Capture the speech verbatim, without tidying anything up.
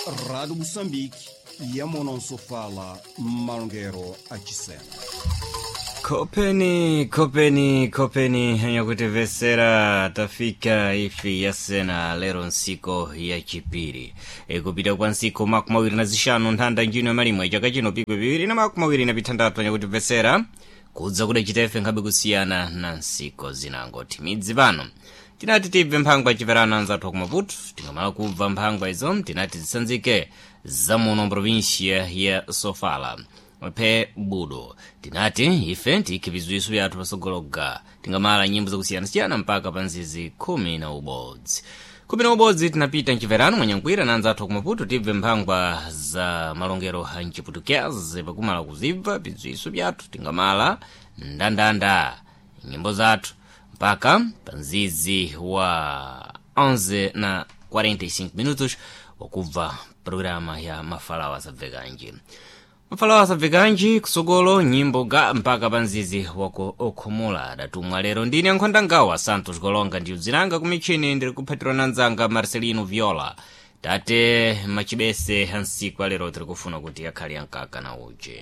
Rádio Moçambique, Yamonansofala, Malongero achisena. Kopeni, kopeni, kopeni yanyakutivesera tafika ifi yasena lero nsiku ya chipiri ikupita kwa nsiku makumi awiri na zixanu nthanda njino malimwe chaka chino pikwi piwiri na makumi awiri na pithandatu anyakutivesera kudza kudacita ife nkhabe kusiyana na nsiku zinango timidzi pano tinati tibve mphangwa aciperano anzathu akumaputu tingamala kubva mphangwa izo tinati zisanzike zamuno provincia ya sofala phe budo tinati ife tikhe bizwiso byathu pasogologa tingamala nyimbo zakusiyanasiyana mpaka pa nzizi khumi na ubodzi khumi na ubodzi tinapita mciperano mwanyankwira na anzathu akumaputu tibve mphangwa za malongero a mciputukezi pakumala kuzibva bzwiso byathu tingamala ndandanda nyimbo zathu mpaka pa nzizi wa onze na quarenta e cinco minutos wakubva programa ya mafalawa asabvekanji mafalawa asabvekanji kusogolo nyimbo ga mpaka pa nzizi wako okhumula adatumwa lero ndine ankhonda ngawa Santos Golonga ndiyo dzinanga kumichini ndiri kuphatirwa na nzanga Marcelino Viola tate machibese ansiku alero tiri kufuna kuti akhale ankaka na uchi.